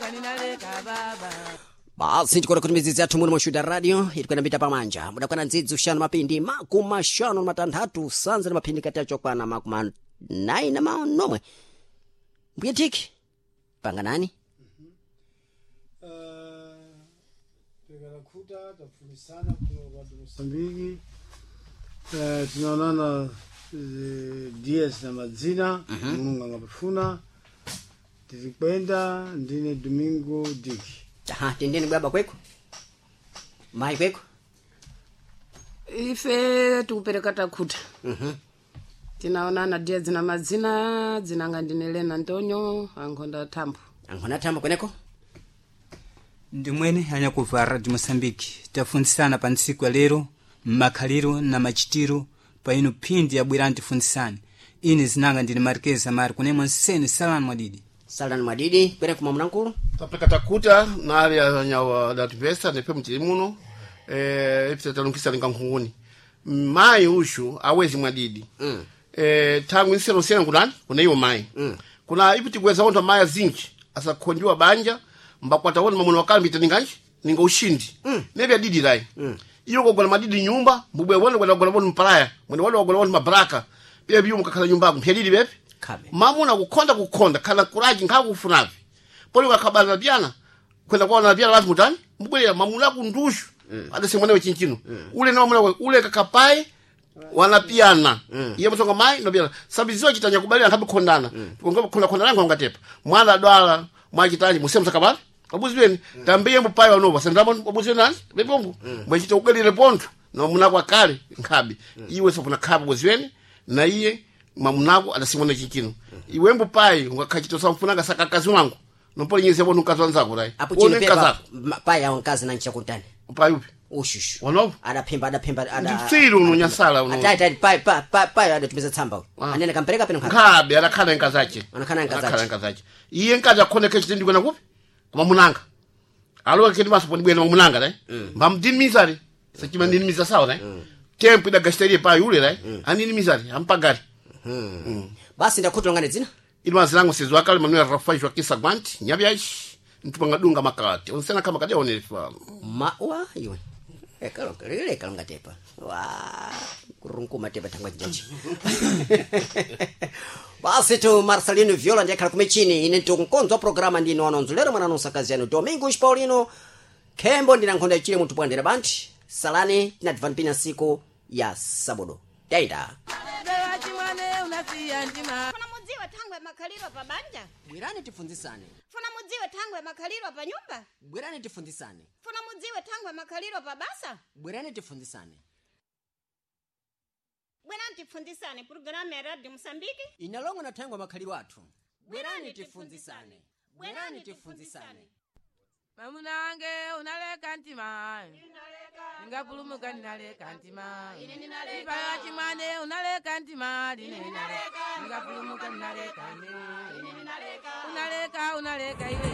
Ningapulumuka ninaleka baba. Basi ndikona kuti midzidzi yathu muno mushuta radio itikwena mbita pamanja mudakwana ndzidzi uxanu mapindi makumi maxanu na matanthatu sanza na maphindi kati acho kwana makumi anayi na manomwe. Mbuye tiki panganani. Tekalakuta tafunisana kuno radio Mosambiki. Tunaonana dias na madzina. Mulungu angapafuna tirikwenda ndine Domingo Diki. Aha, tendeni baba kweko, mayi kweko. Ife tikupereka takhuta. Tinaonana dia dzina madzina dzinanga ndine Lena Antonio ankhonda thambo. Ankhona thambo kweneko. Ndimwene anyakuva Radio Moçambique tafundzisana pa ntsiku ya lero mmakhaliro na machitiro pa ino phindi yabwera ntifundzisane. Ine zinanga ndine Marquez Amari kunemwe nsene salani mwadidi. Salani mwadidi kweneko mwamunankulu. Tapeka takuta nali anyawa datipesa nepe mtili muno ipita talungisa linga nkhunguni mayi ushu awezi mwadidi. Tangu inselo sena kunani kuna iyo mayi. Kuna ipi tigweza ontha mayi azinji asakhonjiwa banja mbakwata wona mamuna wakale mbita ninganji ninga ushindi. Nevi adidi lai. Iyo kogona madidi nyumba mbubwe wona kwenda kugona bonu mpalaya mwene wona wagona bonu mabraka pia biyo mukakhala nyumbako mpyadidi bepi. Kabe. Mamuna kukhonda kukhonda kana kuraji nkhakufunavi poli ukakhabala pyana kwenda kwaona pyana lazi mutani mbubwera mamuna kundushu. Adase mwana wechinchino ule na mamuna ule kakapai wanapiyana. Iye msonga mai nopiyana sabiziwa chitanya kubalira nkhabe khondana. Ngoba khonda khonda langu ngatepa mwana adwala mwachitaji musemu sakabala abuziweni tambiye mbupai wanoba sendamo abuziweni nani bebombu mwechita ugalire pontho na mamuna kwa kale nkhabe iwe sopuna khabe buziweni na iye mamunako adasimwana chinchino iwe mbupai ungakhachita samfunanga sakakazi wangu nompoli nyezi yabona mkazi wanzako rai. Apo chino Uone pepa mkazi payi awo mkazi nanchakuntani. Pai upi? Ushushu. Wanopo? Adaphimba adaphimba ada. Ndipsiri uno nyasala uno. Atati tati payi payi payi adatumiza tsamba uyu. Anene kampereka peno nkhabe. Nkhabe adakhala nkazi ache. Anakhala nkazi ache. Adakhala nkazi ache. Iye nkazi akhoneka chitindi kwena kupi koma munanga alowa kedi maso poni bwena mamunanga dai mbamdinimizari sachima ndinimiza sawa dai tempo idagashitarie payi ule dai aninimizari ampagari. Basi ndakhutulangane dzina. Ili mazilango sezo akale Manuel Rafael Joaquim Sagwanti nyabyaji ntupanga makati onsena kama kadi onelefa. Ma wa iwe. Ekalo lile kalonga tepa. Wa kurunkuma tepa tangwa jaji. Basi tu Marcelino Viola ndiye akhala kumechini ine ntikunkonzo wa programa ndino anonzo lero mwana nonsakazi yanu Domingos Paulino Khembo ndina nkhonda ichile munthu bwandera banti salani tinadivani pina siku ya sabodo taita. Beba chimwane unasiya ndima. Funa mudziwe thangwe makhaliro pa banja. Bwerani tifunzisane. Funa mudziwe thangwe makhaliro pa nyumba. Bwerani tifunzisane. Funa mudziwe thangwe makhaliro pa basa. Bwerani tifunzisane. Bwerani tifunzisane programu ya Radio Mosambiki. Inalongo na thangwe makhaliro athu. Bwerani tifunzisane. Bwerani tifunzisane. Mamuna wange unaleka ntima. Ningapulumuka ninaleka ntima. Ipaya chimwane unaleka ntima. Ningapulumuka ninaleka ntima. Unaleka unaleka iwe.